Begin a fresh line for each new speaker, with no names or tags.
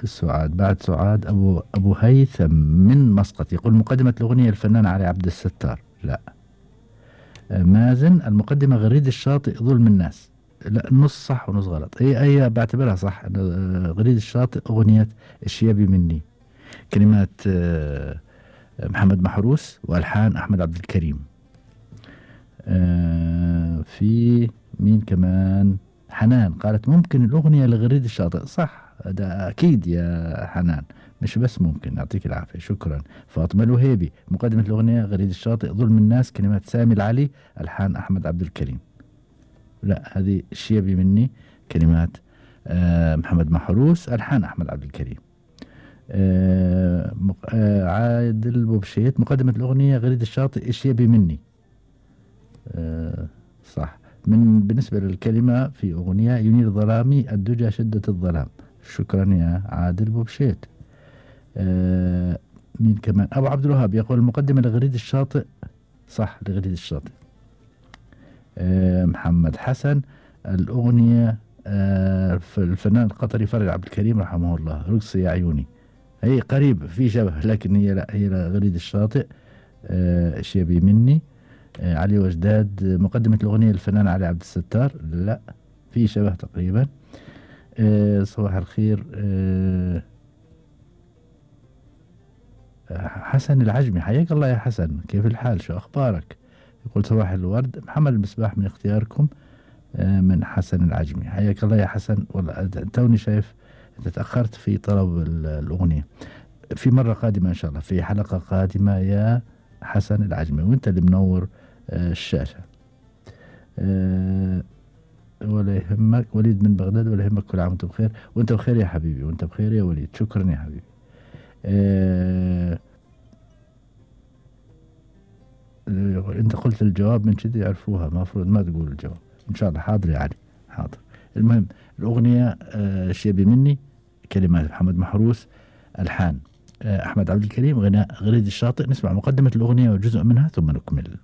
سعاد بعد سعاد أبو هيثم من مسقط يقول مقدمة الأغنية الفنان علي عبد الستار. لا. مازن المقدمة غريد الشاطئ ظلم الناس. لا، نص صح ونص غلط. هي بعتبرها صح. غريد الشاطئ أغنية الشيابي مني، كلمات محمد محروس وألحان أحمد عبد الكريم. في مين كمان؟ حنان قالت ممكن الأغنية لغريد الشاطئ. صح، ده أكيد يا حنان، مش بس ممكن. يعطيك العافية، شكرا. فاطمة الوهيبي مقدمة الأغنية غريد الشاطئ ظلم الناس، كلمات سامي العلي، ألحان أحمد عبد الكريم. لا، هذه الشيبي مني، كلمات محمد محروس، ألحان أحمد عبد الكريم. عادل بوبشيت مقدمة الأغنية غريد الشاطئ الشيبي مني. صح. بالنسبة للكلمة في أغنية ينير ظلامي الدجى شدة الظلام. شكرا يا عادل بوبشيت. مين كمان؟ أبو عبد الوهاب يقول المقدمة لغريد الشاطئ. صح، لغريد الشاطئ. محمد حسن الأغنية الفنان القطري فرج عبد الكريم رحمه الله، رقص يا عيوني. هي قريب، في شبه، لكن هي لا، هي غريد الشاطئ. شيبي مني. علي وجداد مقدمة الأغنية الفنان علي عبد الستار. لا، في شبه تقريبا. صباح الخير. حسن العجمي، حياك الله يا حسن، كيف الحال، شو أخبارك؟ يقول صباح الورد. محمد المصباح من اختياركم من حسن العجمي. حياك الله يا حسن. والله توني شايف أنت تأخرت في طلب الأغنية. في مرة قادمة إن شاء الله، في حلقة قادمة يا حسن العجمي، وانت اللي منور الشاشة. ولا يهمك. وليد من بغداد، ولا يهمك، كل عام وانت بخير. وانت بخير يا حبيبي، وانت بخير يا وليد. شكرا يا حبيبي. انت قلت الجواب من كذا يعرفوها، المفروض ما تقول الجواب. ان شاء الله. حاضر يا علي، حاضر. المهم الأغنية شيبي مني، كلمات محمد محروس، ألحان أحمد عبد الكريم، غناء غريد الشاطئ. نسمع مقدمة الأغنية وجزء منها ثم نكمل.